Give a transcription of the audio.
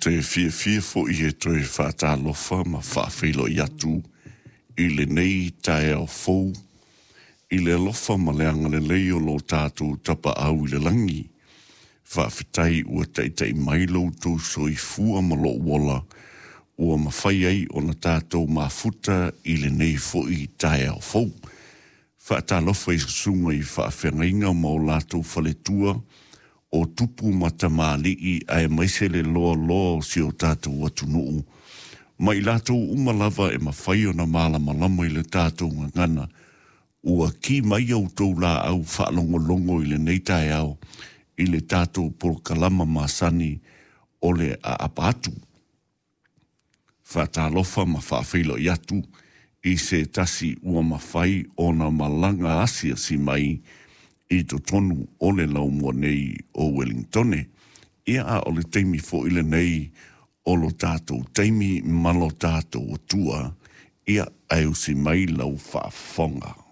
te fiafia foi e toe faatalofa ma faafeiloai atu i lenei taeao fou i le alofa ma le agalelei o lo tatou Tapaau i le lagi. Faafetai ua taitai mai lo outou soifua ma lou ola ua mafai ai ona tatou mafuta i lenei foi taeao fou. Faatalofa i susuga i faafeagaiga ma o latou faletua o tupu ma tamalii aemaise le loaloa o si o tatou atunuu, ma i latou uma lava e mafai ona malamalama i le tatou gagana, ua ki mai a outou laau faalogologo i lenei taeao i le tatou polokalama masani o le aapa atu. Faatalofa ma faafeiloai atu i se tasi ua mafai ona malaga asiasi mai i totonu o le laumua nei o Wellingtone. Ia a o le taimi foi lenei o lo tatou taimi ma lo tatou Atua, ia ae usi mai lau faafofoga.